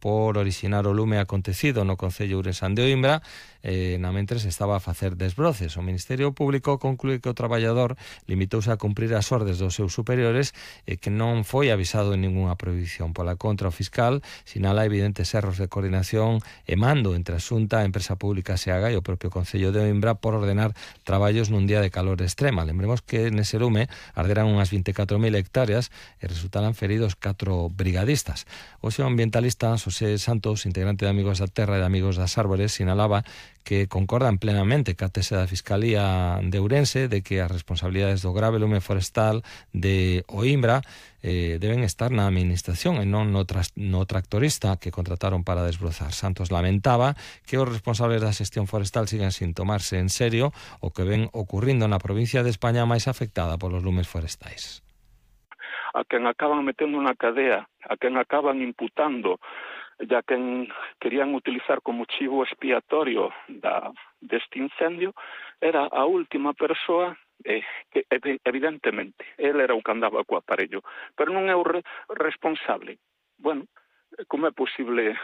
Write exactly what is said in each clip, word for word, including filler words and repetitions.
por orixinar o lume acontecido no concello ourensán de Oimbra, eh, na mentres estaba a facer desbroces. O Ministerio Público conclúe que o traballador limitouse a cumprir as ordes dos seus superiores e que non foi avisado en ningunha prohibición. Pola contra, o fiscal sinala evidentes erros de coordinación e mando entre a Xunta, a Empresa Pública Seaga e o propio concello de Oimbra por ordenar traballos nun día de calor extrema. Lembremos que nese lume arderan unhas vinte e catro mil hectáreas e resultaran feridos catro brigadistas. O seu ambientalista Xosé Santos, integrante de Amigos da Terra e de Amigos das Árbores, sinalaba que concordan plenamente ca tese da Fiscalía de Ourense de que as responsabilidades do grave lume forestal de Oimbra eh, deben estar na administración e non no, tras, no tractorista que contrataron para desbrozar. Santos lamentaba que os responsables da xestión forestal sigan sin tomarse en serio o que ven ocurrindo na provincia de España máis afectada polos lumes forestais. A quen acaban metendo na cadea, a quen acaban imputando, ya quen querían utilizar como chivo expiatorio da, deste incendio, era a última persoa eh, que evidentemente, ele era o que andaba co aparello, pero non é o re responsable. Bueno, como é posible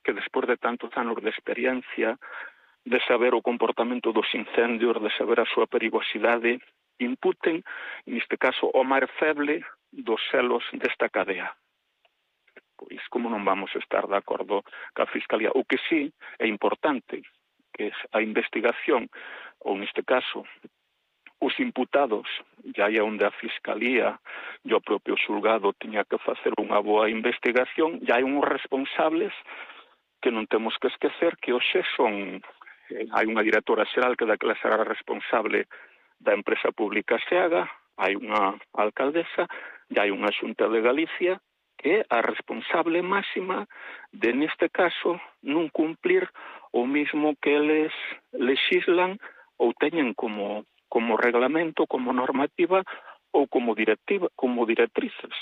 que despois de tantos anos de experiencia, de saber o comportamento dos incendios, de saber a súa perigosidade, imputen, neste caso, o máis feble dos selos desta cadea? Pois como non vamos a estar de acordo ca Fiscalía? O que sí é importante que a investigación, ou neste caso, os imputados, ya é onde a Fiscalía e o propio xulgado tiña que facer unha boa investigación, ya hai uns responsables que non temos que esquecer que hoxe son, eh, hai unha directora xeral que daquela será responsable da Empresa Pública Seaga, hai unha alcaldesa, e hai unha Xunta de Galicia que é a responsable máxima de, neste caso, non cumplir o mismo que eles lexislan ou teñen como, como reglamento, como normativa ou como directiva, como directrices.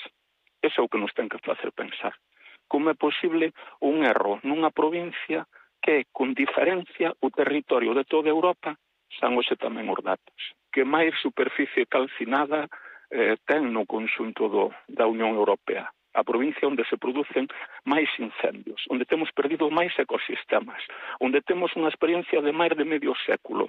Ese é o que nos ten que facer pensar. Como é posible un erro nunha provincia que, con diferencia, o territorio de toda Europa san hoxe tamén os datos, que máis superficie calcinada eh, ten no conxunto do, da Unión Europea. A provincia onde se producen máis incendios, onde temos perdido máis ecosistemas, onde temos unha experiencia de máis de medio século,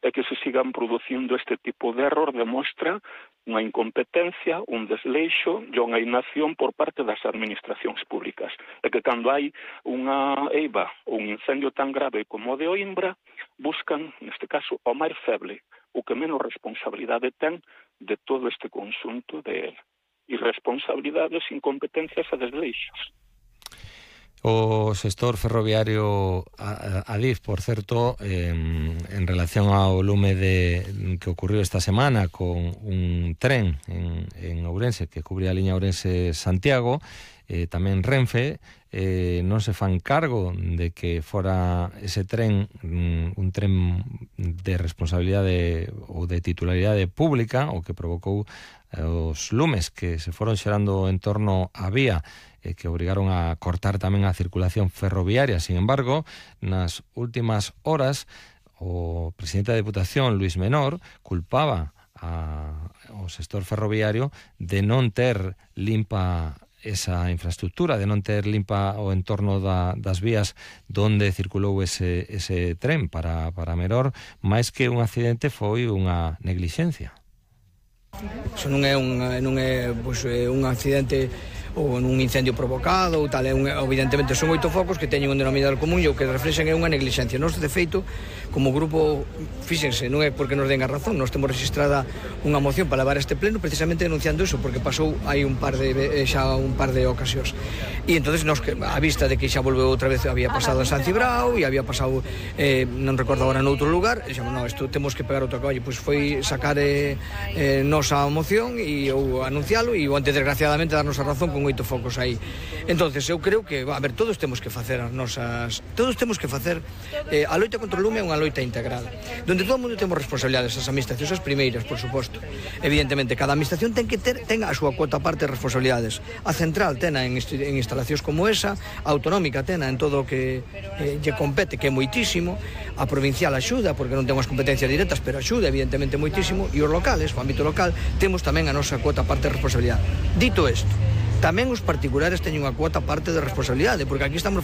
e que se sigan producindo este tipo de error demostra unha incompetencia, un desleixo e unha inacción por parte das administracións públicas. E que cando hai unha eiva ou un incendio tan grave como o de Oimbra, buscan, neste caso, o máis feble, o que menos responsabilidade ten de todo este conxunto de irresponsabilidades, incompetencias e desleixos. O sector ferroviario Adif, por certo, eh, en relación ao lume de, que ocurriu esta semana con un tren en, en Ourense que cubría a liña Ourense-Santiago, eh, tamén Renfe, eh, non se fan cargo de que fora ese tren un tren de responsabilidade ou de titularidade pública, o que provocou os lumes que se foron xerando en torno á vía e que obrigaron a cortar tamén a circulación ferroviaria. Sin embargo, nas últimas horas, o presidente da Deputación, Luis Menor, culpaba a, ao sector ferroviario de non ter limpa esa infraestructura, de non ter limpa o entorno da, das vías donde circulou ese, ese tren. Para, para Menor, máis que un accidente, foi unha neglixencia. Iso non é un, non é, pois, un accidente ou un incendio provocado ou tal, é un, evidentemente son oito focos que teñen un denominador común e o que reflexan é unha neglixencia. Nós, de feito, como grupo, fíxense, non é porque nos den a razón, nós temos registrada unha moción para levar a este pleno precisamente denunciando iso, porque pasou hai un par de xa un par de ocasións. E entonces nos, a vista de que xa volveu outra vez, había pasado en San Cibrao e había pasado, eh, non recordo agora, noutro lugar, e dixemos, non, isto temos que pegar outra colla, pois foi sacar eh, eh, nos a moción e ou anuncialo e o antes, desgraciadamente, darnos a razón con oito focos aí. Entonces, eu creo que, a ver, todos temos que facer as nosas, todos temos que facer eh, a loita contra o lume é unha loita integral, donde todo o mundo temos responsabilidades, as administracións as primeiras, por suposto. Evidentemente, cada administración ten que ter ten a súa cuota parte de responsabilidades. A central tena en, en instalacións como esa, a autonómica tena en todo o que eh, lle compete, que é moitísimo, a provincial axuda, porque non temos competencias directas, pero axuda, evidentemente, moitísimo, e os locales, o ámbito local, temos tamén a nosa cuota parte de responsabilidade. Dito isto, tamén os particulares teñen unha cuota parte de responsabilidade, porque aquí estamos